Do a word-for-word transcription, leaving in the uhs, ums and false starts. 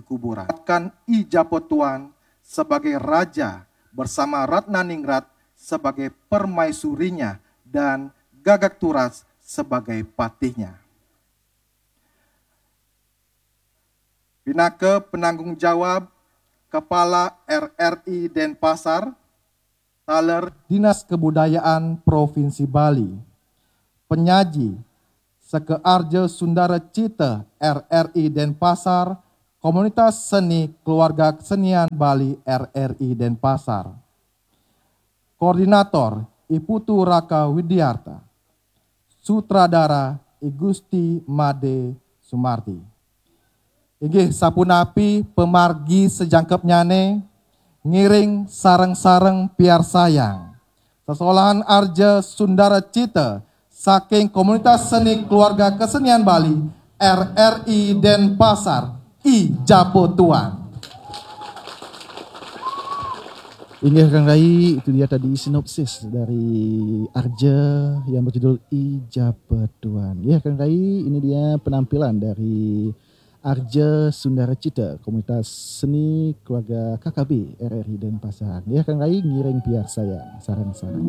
kuburan. Kan I Japotuan sebagai raja bersama Ratna Ningrat sebagai permaisurinya dan Gagak Turas sebagai patihnya. Pinaka penanggung jawab Kepala R R I Denpasar, taler Dinas Kebudayaan Provinsi Bali, penyaji Seke Arja Sundara Cita R R I Denpasar, Komunitas Seni Keluarga Kesenian Bali R R I Denpasar, Koordinator I Putu Raka Widiarta, sutradara I Gusti Made Sumardi. Inggih sapunapi pamargi sajangkepnyane, ngiring sareng-sareng piarsayang sesolahan Arja Sundara Cita saking Komunitas Seni Keluarga Kesenian Bali R R I Denpasar, I Japotuan. Inggih, Kang Rai, itu dia tadi sinopsis dari Arja yang berjudul I Japetuan. Ya, Kang Rai, ini dia penampilan dari Arja Sundara Cita, Komunitas Seni Keluarga K K B R R I Denpasar. Ya, Kang Rai, ngiring piarsayang, sareng-sareng.